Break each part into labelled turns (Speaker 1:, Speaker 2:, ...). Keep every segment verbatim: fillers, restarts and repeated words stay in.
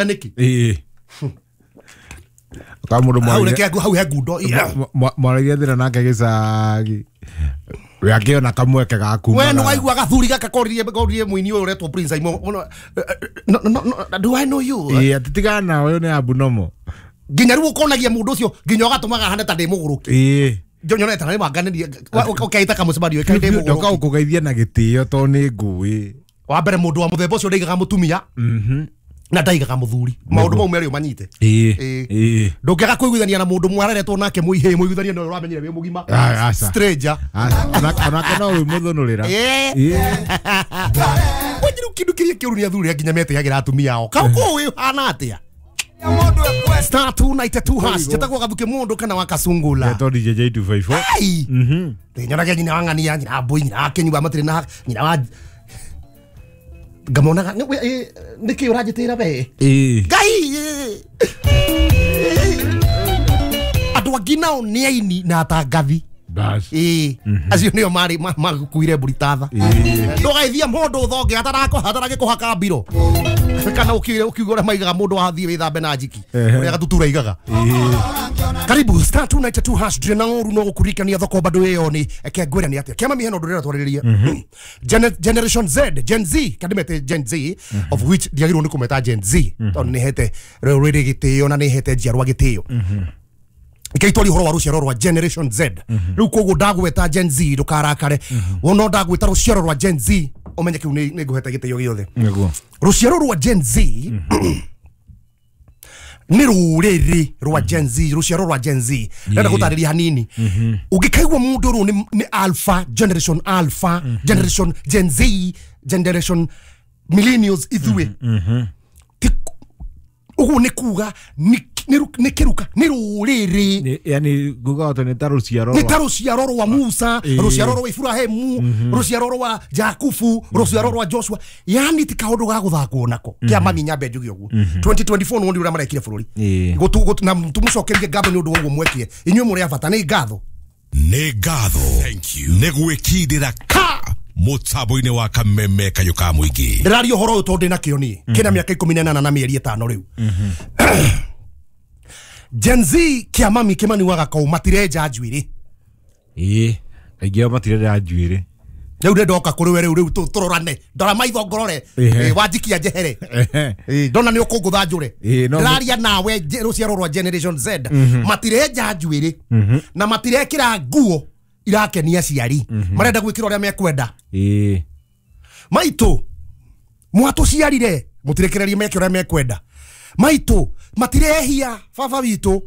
Speaker 1: Nĩkĩ?
Speaker 2: Ĩĩ. Ka mũndũ
Speaker 1: Hau
Speaker 2: mwaragia-
Speaker 1: reke hau he ngundo.
Speaker 2: mwa- mwaragia thĩna nake gĩcagi we akĩona kamweke ga kuma
Speaker 1: We nĩ waigua gathuri gaka koririe koririe mũini ũyũ ũretwo Prince Aimo. No, no, no, do I know you?
Speaker 2: Ĩĩ, atĩ tigana nawe, ũyũ nĩ abnormal.
Speaker 1: Nginya rĩu ũkonagia mũndũ ũcio nginya ũgatũmaga hane ta ndĩ mũgũrũki.
Speaker 2: Ĩĩ.
Speaker 1: Nyonete na nĩ wanganĩrie ũkeita kamũcemanio ĩkaĩ ndĩ
Speaker 2: Ndoka
Speaker 1: mũgũrũki.
Speaker 2: ũkũgeithia na gĩtĩo tondũ nĩ ngũĩ.
Speaker 1: Wa mbere, mũndũ wa mũthemba ũcio ndaigaga mũtumia
Speaker 2: Mhm.
Speaker 1: na ndaigaga mũthuri. Maũndũ mau merĩ ũmanyite.
Speaker 2: Ĩĩ.
Speaker 1: Ĩĩ.
Speaker 2: Ĩĩ.
Speaker 1: Ndũngĩaga kũiguithania na mũndũ mwararetwo nake mũihĩ mũiguithanie na ũrĩa ũramenyire wĩ mũgima.
Speaker 2: Ah, aca.
Speaker 1: Stranger.
Speaker 2: Aca, ona- onake no wĩmũthũnũrĩra.
Speaker 1: Ĩĩ.
Speaker 2: Ĩĩ.
Speaker 1: Wanjiru, kindu kiria kĩũru nĩ athuri arĩa nginya metĩagĩra atumia ao kau kũu ĩhana atĩa? Star two nine two hash. Njĩtagwo Gathuke mũndũ kana wa Kasungula.
Speaker 2: Etwo D J J two five four.
Speaker 1: Ai.
Speaker 2: Mhm.
Speaker 1: Nyonagia nyina wa ng'ania, nyina wa mbũi, nyina wa kĩnyua matirĩ na nyina wa ngamonaga nĩkĩ ũranjĩtĩra we?
Speaker 2: Ĩĩ.
Speaker 1: Ngai, andũ angĩ nao nĩ aini na atangathi.
Speaker 2: Bas.
Speaker 1: Ĩĩ, acio nĩo marĩ ma- makuire mbũri tatha.
Speaker 2: Ĩĩ.
Speaker 1: Ndũgaithia mũndũ thonge ataragĩkũhaka mbiro kana ũkiuge ũkiuga ũrĩa maigaga mũndũ wathiĩ wĩthambe na njiki.
Speaker 2: Ehe.
Speaker 1: Ũrĩa gatutura igaga.
Speaker 2: Ĩĩ.
Speaker 1: Karibu star two nine two hash. Ndire na ũru no gũkuririkania thoko bado ĩyo nĩ eke ngwĩre nĩ atĩa kĩama miheno ndũrĩra twarĩrĩrie Gene- generation Z, Gen Z, kandimete Gen Z, of which ndiagĩrĩirwo nĩ kũmeta Gen Z tondũ nĩ hete rũrĩrĩ gĩtĩo na nĩ hete njiarwa gĩtĩo. Ikeitwari ũhoro wa rũciaro rwa Generation Z rĩu, koguo ndagweta Gen Z ndũkarakare. Wona ndagwĩta rũciaro rwa Gen Z, ũmenye kĩu nĩ nĩ ngũhete gĩtĩo gĩothe.
Speaker 2: Nĩguo.
Speaker 1: Rũciaro rwa Gen Z nĩ rũrĩrĩ rwa Gen Z, rũciaro rwa Gen Z ndenda gũtarĩria hanini. Ũngĩkaigua mũndũ ũrũ nĩ nĩ alpha generation, alpha generation, Gen Z generation, millennials ithuĩ. Ti- ũguo nĩ kuga nĩ- nĩ ru- nĩ kĩruka, nĩ rũrĩrĩ.
Speaker 2: Nĩ- yani nguga atĩ nĩ ta rũciaro
Speaker 1: Nĩ
Speaker 2: rwa-
Speaker 1: ta rũciaro rwa Musa,
Speaker 2: Ĩĩ.
Speaker 1: rũciaro rwa Iburahĩmu, rũciaro rwa Jakubu, rũciaro rwa Joshua. Yani ti kaũndũ ga gũthakwo nako kĩa mami. Nyambe njuge ũguo, twenty twenty-four nĩ ũrĩa marekire bũrũri.
Speaker 2: Ĩĩ.
Speaker 1: Gũtu- gũtu- na tũmũcokerie ngatho nĩ ũndũ wa ũguo mwekire. Inyuĩ mũrĩ a bata, nĩ ngatho.
Speaker 3: Nĩ ngatho nĩ gwĩkindĩra ka mũtambo-inĩ wa Kameme kayũ ka mũingĩ.
Speaker 1: Ndĩraria ũhoro ũyũ tondũ ndĩna kĩo niĩ kĩna mĩaka ikũmi na ĩnana na mĩeri ĩtano rĩu. Gen Z kĩa mami kĩmani wa gakau matirenja njuĩrĩ.
Speaker 2: Ĩĩ, aingĩ ao matirenda njuĩrĩ.
Speaker 1: Rĩu nĩ ndoka kũrĩ we rĩu rĩu tũ- tũrorane, ndora maitho ngorore.
Speaker 2: Ehe.
Speaker 1: Ĩ, wanjikia njehere.
Speaker 2: Ehe.
Speaker 1: Ĩ, ndona nĩ ũkũngũtha njũre.
Speaker 2: Ĩ, no-
Speaker 1: Ndĩraria nawe nje- rũciaro rwa Generation Z matirenja njuĩrĩ na matirekĩra nguo irakenia aciari, marenda gwĩkĩra ũrĩa mekwenda.
Speaker 2: Ĩĩ.
Speaker 1: Maitũ mwatũciarire mũtirekererie meke ũrĩa mekwenda. Maitũ matirehia baba witũ,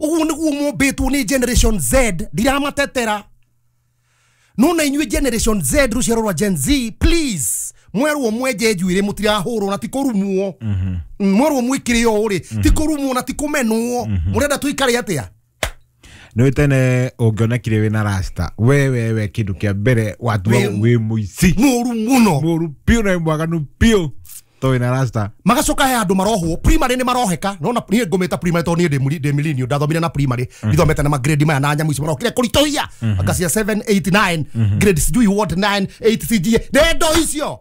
Speaker 1: ũguo nĩguo mombĩtwo nĩ Generation Z. Ndiramatetera, no na inyuĩ Generation Z, rũciaro rwa Gen Z, please, mwerwo mwenje njuĩrĩ mũtirahũrwo na ti kũrumwo. Mm, mwerwo mwĩkĩre ũũ rĩ, ti kũrumwo na ti kũmenwo. Mũrenda tũikare atĩa?
Speaker 2: Nĩ tene ũngĩonekire wĩna rasta, we we we kĩndũ kĩa mbere watua
Speaker 1: Wĩ-
Speaker 2: wĩ mũici.
Speaker 1: Mũru mũno.
Speaker 2: Mũru biũ na wĩ mwaganu biũ to wĩna rasta.
Speaker 1: Magacoka he andũ marohwo primary, nĩ maroheka nona niĩ ngũmĩta primary tondũ niĩ ndĩ muri- ndĩ millennial, ndathomire na primary, ndithomete na magrade maya na nyamũ ici marokire kũritũhia anga cia seven eight nine grade, sijui what, nine eight C G ndendo icio.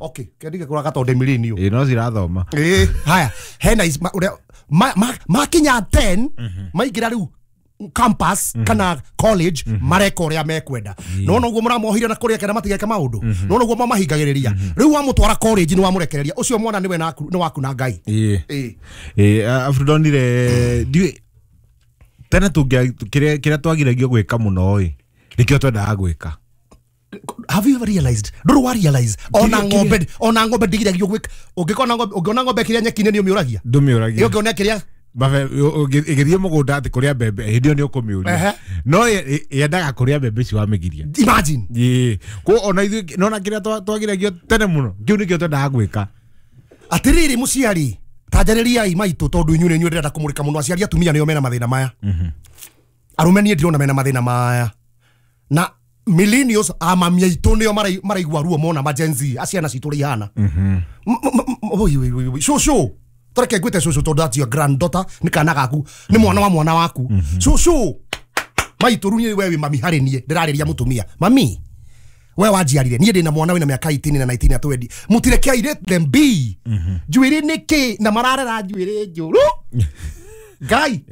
Speaker 1: Okay, kendige kũraga tondũ ndĩ millennial.
Speaker 2: Ĩĩ, no cirathoma.
Speaker 1: Ĩĩ, haya hena ici- ma- ũrĩa ma- ma- makinya ten, maingĩra rĩu campus kana college, mareka ũrĩa mekwenda. Nona ũguo mũramohire na kũrĩa kenda matigeke maũndũ, nona ũguo mamahingagĩrĩria. Rĩu wamũtwara college nĩ wamũrekereria ũcio mwana nĩwe naku- nĩ waku na Ngai.
Speaker 2: Ĩĩ.
Speaker 1: Ĩĩ.
Speaker 2: Ĩĩ, abu ndonire ndiũĩ tene tũngĩa kĩrĩa kĩrĩa twagiragio gwĩka mũno ĩ nĩkĩo twendaga gwĩka.
Speaker 1: Have you ever realized, ndũrĩ wa realize ona
Speaker 2: Kĩrĩa-
Speaker 1: ng'ombe, ona ng'ombe ndigiragio gwĩka? Ũngĩkona ng'ombe, ũngĩona ng'ombe kĩrĩa nyeki-inĩ nĩ ũmĩũragia.
Speaker 2: Ndũmĩũragia.
Speaker 1: Ũngĩona kĩrĩa
Speaker 2: Mabe- ũngĩ- ĩgĩthiĩ mũgũnda atĩ kũrĩa mbembe, hĩndĩ ĩyo nĩ ũkũmĩũria.
Speaker 1: Ehe.
Speaker 2: No ĩ- ĩ- yendaga kũrĩa mbembe icio wamĩgiria.
Speaker 1: Imagine.
Speaker 2: Ĩĩ, ko ona ithuĩ nona kĩrĩa twa- twagiragio tene mũno kĩu nĩkĩo twendaga gwĩka.
Speaker 1: Atiriri muciari, tanjarĩriai maitũ, tondũ inyuĩ nĩ inyuĩ ndĩrenda kũmũrĩka mũno. Aciari atumia nĩo mena mathĩna maya, arũme niĩ ndirona mena mathĩna maya. Na millennials amami aitũ nĩo marai- maraigua ruo mona ma Gen Z aciana citũ ũrĩa ihana. M- m- m- oi, oi, oi, oi. Cũcũ, tareke ngwĩte cũcũ tondũ that's your granddaughter, nĩ kana gaku, nĩ mwana wa mwana waku. Cũcũ maitũ, rĩu niĩ we wĩ mami harĩ niĩ, ndĩrarĩria mũtumia mami. We wanjiarire niĩ ndĩna mwana wĩna mĩaka eighteen na nineteen na twenty. Mũtireke, let them be. Njuĩrĩ nĩkĩ na mararera njuĩrĩ njũru ngai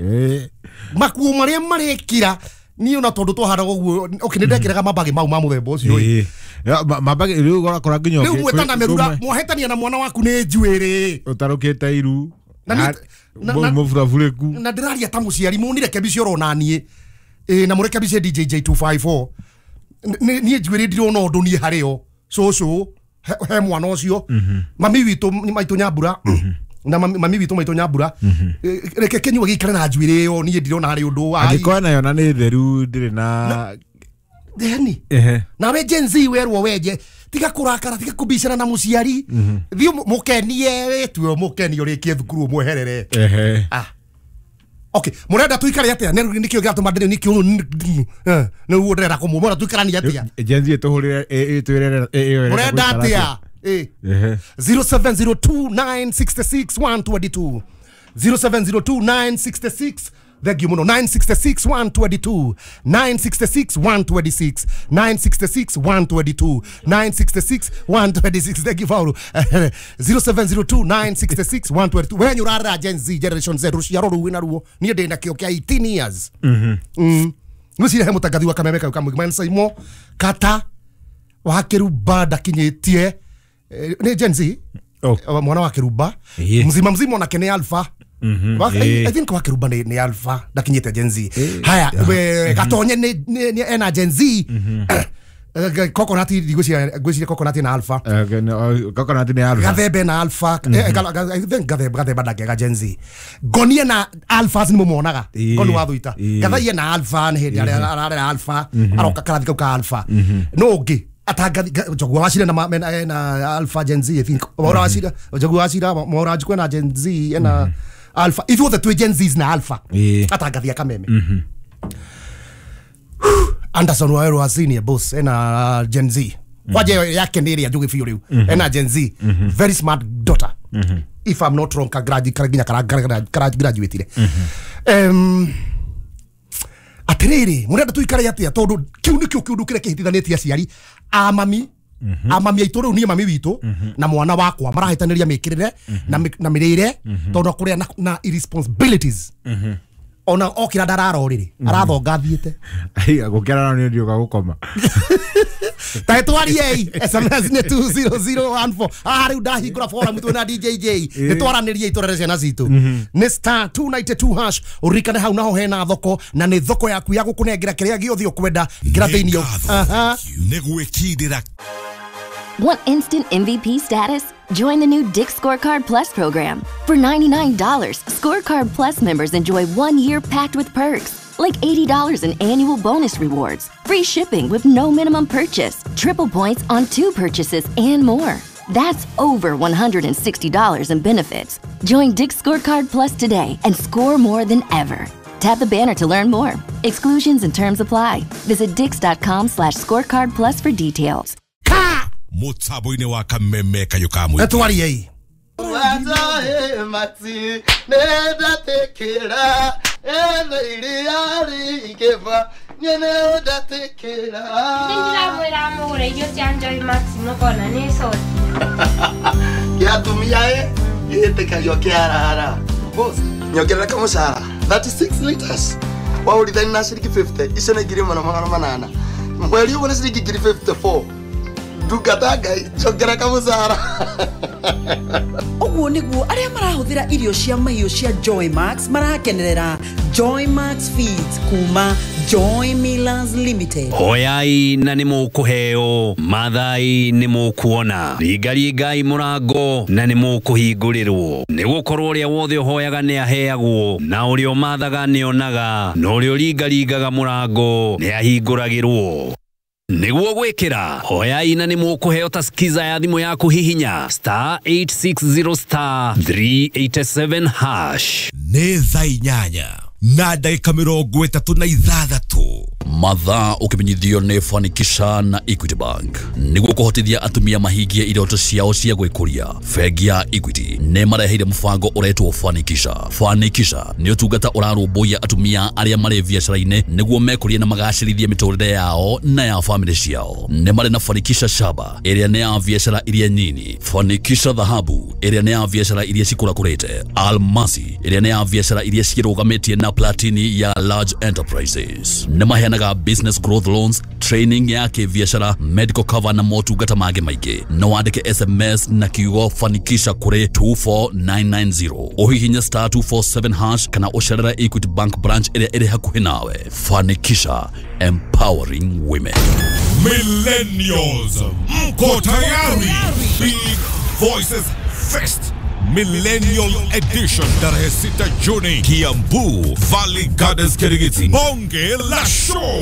Speaker 1: makuo marĩa marekira niĩ ona tondũ twahanaga ũguo. Okay, nĩ ndekĩraga mambagi mau ma mũthemba ũcio ĩ.
Speaker 2: Mambagi rĩu ũrakora nginya
Speaker 1: rĩu mwetana merura mwahĩtania na mwana waku nĩ njuĩrĩ
Speaker 2: ũtarũkĩte iru
Speaker 1: na
Speaker 2: mũburabũrĩku.
Speaker 1: Na ndĩraria ta mũciari mũnirekebicie oro naniĩ ĩ na mũrekebicie D J J two five four. Niĩ njuĩrĩ ndirona ũndũ niĩ harĩo cũcũ he mwana ũcio mami witũ maitũ Nyambura na mami witũ maitũ Nyambura reke kĩnyua gĩikare na njuĩrĩ ĩyo niĩ ndirona harĩ ũndũ wa
Speaker 2: angĩkorwo nayo na nĩ theru ndĩrĩ na
Speaker 1: theni. Nawe Gen Z werwo wenje tiga kũrakara tiga kũbicana na mũciari thiĩ mũkenie wĩtue mũkenie ũrĩkie thukuru ũmweherere. Ah, okay, murenda tuikare atia nikio giratuma ndire nikio niguo ndirenda kumumora tuikaranie atia
Speaker 2: Gen Z ituhurire itwirere
Speaker 1: murenda atia eh zero seven zero two nine six six one two two zero seven zero two nine six six. Thank you muno. Nine six six one two two nine six six one two six nine six six one two two nine six six one two six. Thank you Paulo. zero seven zero two nine six six one two two. When you are Gen Z generation Z ruciaro rũu wĩna ruo niĩ ndĩ na kĩo kĩa eighteen years. Mhm. Mm. Ngwĩciria he mũtangathi wa Kameme kau kamwe Saimo kata wa Kĩrumba ndakinyĩtie nĩ Gen Z mwana wa Kĩrumba mzima mzima onake nĩ alpha. Mm -hmm. I, I think wa Kĩrumba ni, ni alpha ndakinyĩte Gen Z. Haya we gatonye ni, ni, ni ena Gen Z. Coconut ngwĩciria ngwĩciria coconut na alpha.
Speaker 2: Coconut ni alpha.
Speaker 1: Gathembe na alpha. I think gathembe gathemba ndakega Gen Z. Ngonie na alphas ni mumonaga. Ngoni wa thuita. Gathaiye na alpha ni hindi ararera alpha aroka karathi kau ka alpha. No ũngĩ atangathi Njogu wa Wachira na na alpha Gen Z I think. Mwaura Wachira Njogu wa Wachira Mwaura Njukwe na Gen Z na alpha. Ithuothe twĩ Gen Zs na alpha. Atangathi Kameme. Anderson Waweru wa senior boss ena Gen Z. Kwaje yake nĩ ĩrĩa njũgĩ biũ rĩu. Ena Gen Z. Very smart daughter. If I'm not wrong ka graduate nginya kara graduate. Em atiriri murenda tuikare atia tondu kiu nikio kiundu kire kihitithanĩtie aciari a mami a mami aitũ rĩu niĩ mami witũ na mwana wakwa marahĩtanĩria mĩkĩrĩre na na mĩrĩre tondu kũrĩa na irresponsibilities ona okira ndarara rĩrĩ arathonga thiĩte
Speaker 2: gũkĩra nĩ ndiũka gũkoma
Speaker 1: ta twariei S M S nĩ two zero zero one four. Ah rĩu ndahingũra forum twĩna D J J nĩ twaranĩrie itũrere ciana citũ nĩ star two nine two hash ũririkane hau naho hena thoko na nĩ thoko yaku ya gũkũnengera kĩrĩa gĩothe ũkwenda ngĩra thĩinĩ. Aha,
Speaker 3: nĩ gwĩkindĩra.
Speaker 4: Want instant M V P status? Join the new Dick's Scorecard Plus program. For ninety-nine dollars, Scorecard Plus members enjoy one year packed with perks, like eighty dollars in annual bonus rewards, free shipping with no minimum purchase, triple points on two purchases, and more. That's over one hundred sixty dollars in benefits. Join Dick's Scorecard Plus today and score more than ever. Tap the banner to learn more. Exclusions and terms apply. Visit dicks.com slash scorecard plus for details.
Speaker 3: Mũtambo-inĩ wa Kameme kayũ ka mũingĩ.
Speaker 1: Etwariei.
Speaker 5: Watahe mati nenda tekera ene iria rĩingĩva nenda tekera.
Speaker 6: Nĩndĩramwĩra mũgũre irio cia Joy Max mũkona nĩ coti.
Speaker 5: Kĩa atumia ĩ gĩtĩkagio kĩarara. Boss, nyongerera kamũcara thirty-six liters. Waũrithani na ciringi fifty icio nĩ ngiri ĩmwe na magana manana. Mweri ũmwe nĩ ciringi ngiri fifty-four. Ndungata Ngai njongera kamũcara.
Speaker 7: Ũguo nĩguo arĩa marahũthĩra irio cia mahiũ cia Joy Max marakenerera Joy Max Feeds kuma Joy Millers Limited.
Speaker 8: Hoyai na nĩ mũkũheo, mathai nĩ mũkuona, ringaringai mũrango na nĩ mũkũhingũrĩrwo. Nĩ gũkorwo ũrĩa wothe ũhoyaga nĩ aheagwo, na ũrĩa ũmathaga nĩ onaga, na ũrĩa ũringaringaga mũrango nĩ ahingũragĩrwo. Nĩguo gwĩkĩra hoyai na nĩ mũkũheo ta skiza ya thimũ yaku hihinya star eight six zero star three eight seven hash.
Speaker 3: Nĩ thaa inyanya na ndagĩka mĩrongo ĩtatũ na ithathatũ.
Speaker 9: Mathaa ũkĩmenyithio nĩ Fanikisha na Equity Bank. Nĩguo kũhotithia atumia mahingie iroto ciao cia gwĩkũria, bengi ya Equity nĩ mareheire mũbango ũretwo Fanikisha. Fanikisha nĩ ũtungata ũrarũmbũiya atumia arĩa marĩ biacara-inĩ nĩguo mekũrie na magacĩrithie mĩtũrĩre yao na ya famĩlĩ ciao. Nĩ marĩ na Fanikisha Shaba ĩrĩa nĩ ya biacara iria nyini, Fanikisha Dhahabu ĩrĩa nĩ ya biacara iria cikũrakũrĩte, Almasi ĩrĩa nĩ ya biacara iria ciĩrũgamĩtie na Platini ya large enterprises. Nĩ maheanaga business growth loans, training ya kĩbiacara, medical cover na motungata mangĩ maingĩ. No wandĩke S M S na kiugo Fanikisha kũrĩ two four nine nine zero, ũhihinye star two four seven hash kana ũcerere Equity Bank branch ĩrĩa ĩrĩ hakuhĩ nawe. Fanikisha, empowering women.
Speaker 3: Millennials, mko tayari? Big Voices Fest Millennial Edition tarehe sita Juni, Kiambu Valley Gardens, Kirigiti. Bonge la show.